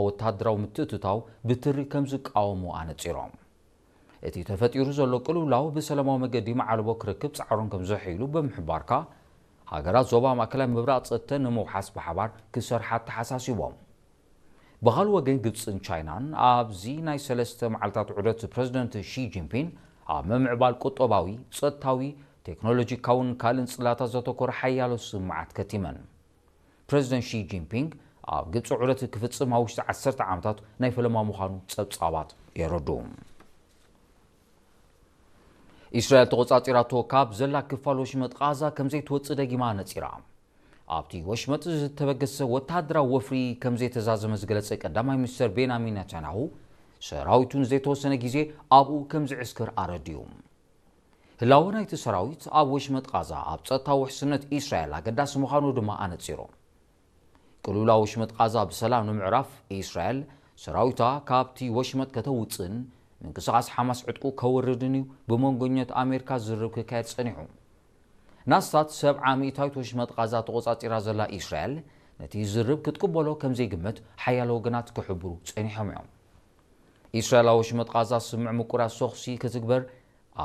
ወታደራዊ ምትእትታው ብትሪ ከም ዝቃወሙ ኣነጺሮም። እቲ ተፈጢሩ ዘሎ ቅልውላው ብሰላማዊ መገዲ መዓልቦ ክረክብ ጻዕሮም ከም ዘሐይሉ ብምሕባርካ፣ ሃገራት ዞባ ማእከላይ ምብራቕ ጸጥተን ንምውሓስ ብሓባር ክሰርሓ ኣተሓሳሲቦም። ብኻልእ ወገን፣ ግብጽን ቻይናን ኣብዚ ናይ ሰለስተ መዓልታት ዑደት ፕረዚደንት ሺ ጂንፒንግ ኣብ ምምዕባል ቁጠባዊ፣ ጸጥታዊ፣ ቴክኖሎጂካውን ካልእን ጽላታት ዘተኮረ ሓያሎ ስምዓት ከቲመን። ፕረዚደንት ሺ ጂንፒንግ ኣብ ግብጺ ዑደት ክፍጽም ኣብ ውሽጢ ዓሰርተ ዓመታት ናይ ፈለማ ምዃኑ ጸብጻባት የረድኡ። እስራኤል ተቖጻጺራቶ ካብ ዘላ ክፋል ወሽመጥ ቓዛ ከም ዘይትወጽእ ደጊማ ነጺራ። ኣብቲ ወሽመጥ ዝተበገሰ ወተሃደራዊ ወፍሪ ከም ዘይተዛዘመ ዝገለጸ ቀዳማይ ሚኒስተር ቤንያሚን ነታንያሁ፣ ሰራዊቱ ንዘይተወሰነ ግዜ ኣብኡ ከም ዝዕስክር ኣረዲኡ። ህላወ ናይቲ ሰራዊት ኣብ ወሽመጥ ቓዛ ኣብ ጸጥታ ውሕስነት እስራኤል ኣገዳሲ ምዃኑ ድማ ኣነጺሩ። ቅልውላው ወሽመጥ ቓዛ ብሰላም ንምዕራፍ፣ እስራኤል ሰራዊታ ካብቲ ወሽመጥ ከተውጽእን ምንቅስቓስ ሓማስ ዕጥቁ ከወርድን እዩ ብመንጎኛት ኣሜሪካ ዝርርብ ክካየድ ጸኒሑ። ናስታት ሰብዓ ሚእታዊት ወሽመጥ ቓዛ ተቖጻጺራ ዘላ እስራኤል፣ ነቲ ዝርርብ ክትቅበሎ ከም ዘይግመት ሓያሎ ወገናት ክሕብሩ ጸኒሖም እዮም። እስራኤል ኣብ ወሽመጥ ቓዛ ስምምዕ ምቁራጽ ተኹሲ ክትግበር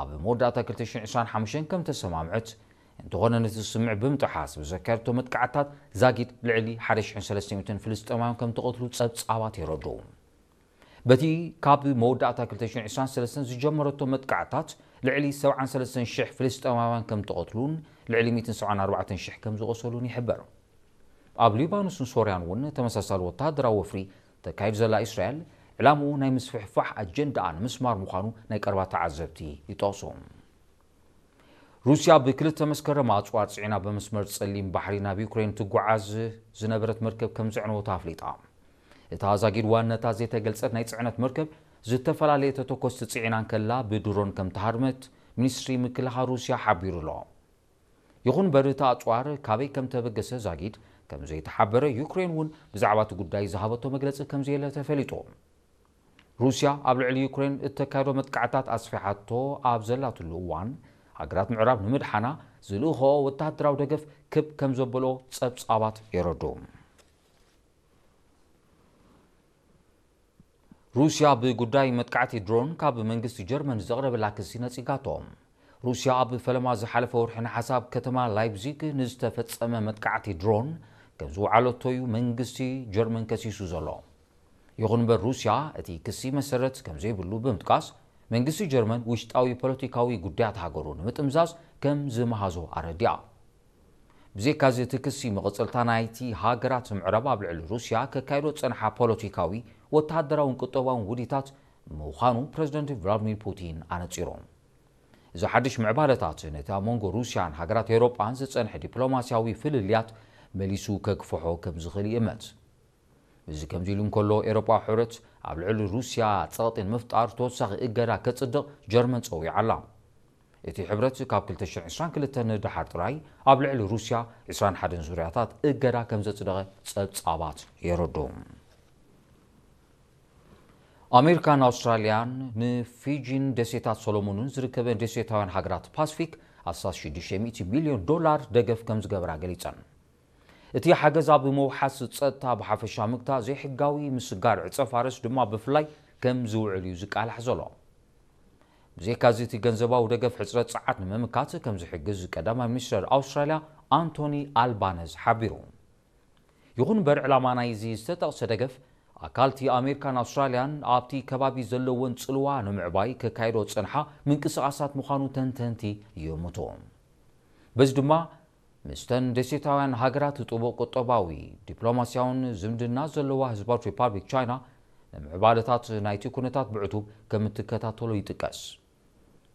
ኣብ መወዳእታ ክልተ ሽሕን ዕስራን ሓሙሽተን ከም ተሰማምዐት፣ እንተኾነ ነቲ ስምምዕ ብምጥሓስ ብዘካየደቶ መጥቃዕትታት ዛጊድ ልዕሊ ሓደ ሽሕን ሰለስተ ሚእትን ፍልስጤማውያን ከም ተቐትሉ ጸብጻባት የረድኡ። በቲ ካብ መወዳእታ ክልተ ሽሕን ዕስራን ሰለስተን ዝጀመረቶ መጥቃዕትታት ልዕሊ ሰብዓን ሰለስተን ሽሕ ፍልስጤማውያን ከም ተቐትሉን ልዕሊ ሚእትን ሰብዓን ኣርባዕተን ሽሕ ከም ዝቖሰሉን ይሕበር። ኣብ ሊባኖስን ሶርያን እውን ተመሳሳሊ ወተሃደራዊ ወፍሪ ተካይድ ዘላ እስራኤል፣ ዕላምኡ ናይ ምስፍሕፋሕ ኣጀንዳኣ ንምስማር ምዃኑ ናይ ቀረባ ተዓዘብቲ ይጠቕሱ። ሩስያ ብክልተ መስከረም ኣጽዋር ጽዒና ብመስመር ጸሊም ባሕሪ ናብ ዩክሬን ትጓዓዝ ዝነበረት መርከብ ከም ዘዕነወታ ኣፍሊጣ። እታ ዛጊድ ዋንነታ ዘይተገልጸት ናይ ጽዕነት መርከብ፣ ዝተፈላለየ ተተኮስቲ ጽዒና እንከላ ብድሮን ከም ተሃርመት ሚኒስትሪ ምክልኻል ሩስያ ሓቢሩ ኣሎ። ይኹን እምበር፣ እቲ ኣጽዋር ካበይ ከም ተበገሰ ዛጊድ ከም ዘይተሓበረ፣ ዩክሬን እውን ብዛዕባ እቲ ጉዳይ ዝሃበቶ መግለጺ ከም ዘየለ ተፈሊጡ። ሩስያ ኣብ ልዕሊ ዩክሬን እተካየዶ መጥቃዕታት ኣስፊሓቶ ኣብ ዘላትሉ እዋን፣ ሃገራት ምዕራብ ንምድሓና ዝልእኽኦ ወተሃደራዊ ደገፍ ክብ ከም ዘበሎ ጸብጻባት የረድኡ። ሩስያ ብጉዳይ መጥቃዕቲ ድሮን ካብ መንግስቲ ጀርመን ዘቕረበላ ክሲ ነጺጋቶ። ሩስያ ኣብ ፈለማ ዝሓለፈ ወርሒ ነሓሰ ኣብ ከተማ ላይፕዚግ ንዝተፈጸመ መጥቃዕቲ ድሮን ከም ዝወዓለቶ እዩ መንግስቲ ጀርመን ከሲሱ ዘሎ። ይኹን እምበር፣ ሩስያ እቲ ክሲ መሰረት ከም ዘይብሉ ብምጥቃስ፣ መንግስቲ ጀርመን ውሽጣዊ ፖለቲካዊ ጉዳያት ሃገሩ ንምጥምዛዝ ከም ዝመሃዞ ኣረዲኣ። ብዘይካዚ፣ እቲ ክሲ መቐጸልታ ናይቲ ሃገራት ምዕራብ ኣብ ልዕሊ ሩስያ ከካይዶ ዝጸንሓ ፖለቲካዊ፣ ወተሃደራውን ቁጠባውን ውዲታት ምዃኑ ፕረዚደንት ቭላድሚር ፑቲን ኣነጺሩ። እዚ ሓድሽ ምዕባለታት ነቲ ኣብ መንጎ ሩስያን ሃገራት ኤውሮጳን ዝጸንሐ ዲፕሎማስያዊ ፍልልያት መሊሱ ከግፍሖ ከም ዝኽእል ይእመት። እዚ ከምዚ ኢሉ እንከሎ፣ ኤውሮጳዊ ሕብረት ኣብ ልዕሊ ሩስያ ጸቕጢ ንምፍጣር ተወሳኺ እገዳ ከጽድቕ ጀርመን ጸዊዓ ኣላ። እቲ ሕብረት ካብ ክልተ ሽሕን ዕስራን ክልተን ንደሓር ጥራይ ኣብ ልዕሊ ሩስያ ዕስራን ሓደን ዙርያታት እገዳ ከም ዘጽደቐ ጸብጻባት የረድኡ። ኣሜሪካን ኣውስትራልያን ንፊጂን ደሴታት ሶሎሞንን ዝርከበን ደሴታውያን ሃገራት ፓስፊክ ኣስታት ሽዱሽተ ሚእቲ ሚልዮን ዶላር ደገፍ ከም ዝገበራ ገሊጸን። እቲ ሓገዝ ኣብ ምውሓስ ጸጥታ ብሓፈሻ ምግታእ፣ ዘይሕጋዊ ምስጋር ዕጸ ፋርስ ድማ ብፍላይ ከም ዝውዕል እዩ ዝቃላሕ ዘሎ። ብዘይካዚ፣ እቲ ገንዘባዊ ደገፍ ሕጽረት ጸዓት ንምምካት ከም ዝሕግዝ ቀዳማይ ሚኒስተር ኣውስትራልያ ኣንቶኒ ኣልባነዝ ሓቢሩ። ይኹን እምበር፣ ዕላማ ናይዚ ዝተጠቕሰ ደገፍ ኣካልቲ ኣሜሪካን ኣውስትራልያን ኣብቲ ከባቢ ዘለወን ጽልዋ ንምዕባይ ከካይዶ ዝጸንሓ ምንቅስቓሳት ምዃኑ ተንተንቲ ይእምቱ። በዚ ድማ፣ ምስተን ደሴታውያን ሃገራት ጥቡቕ ቁጠባዊ፣ ዲፕሎማስያውን ዝምድና ዘለዋ ህዝባዊት ሪፓብሊክ ቻይና፣ ንምዕባለታት ናይቲ ኩነታት ብዕቱብ ከም እትከታተሎ ይጥቀስ።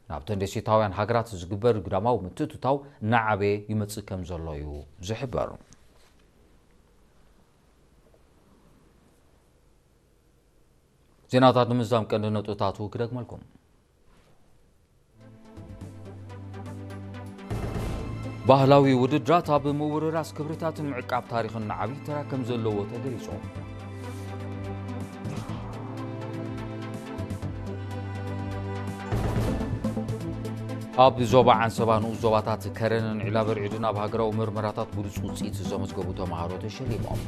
ናብተን ደሴታውያን ሃገራት ዝግበር ግዳማዊ ምትእትታው እናዓበየ ይመጽእ ከም ዘሎ እዩ ዝሕበር። ዜናታት ንምዝዛም ቀንዲ ነጥብታቱ ክደግመልኩም። ባህላዊ ውድድራት ኣብ ምውርራስ ክብርታትን ምዕቃብ ታሪኽን ዓብዪ ተራ ከም ዘለዎ ተገሊጹ። ኣብ ዞባ ዓንሰባ ንኡስ ዞባታት ከረንን ዒላበርዒድን ኣብ ሃገራዊ ምርመራታት ብሉጽ ውጽኢት ዘመዝገቡ ተምሃሮ ተሸሊሞም።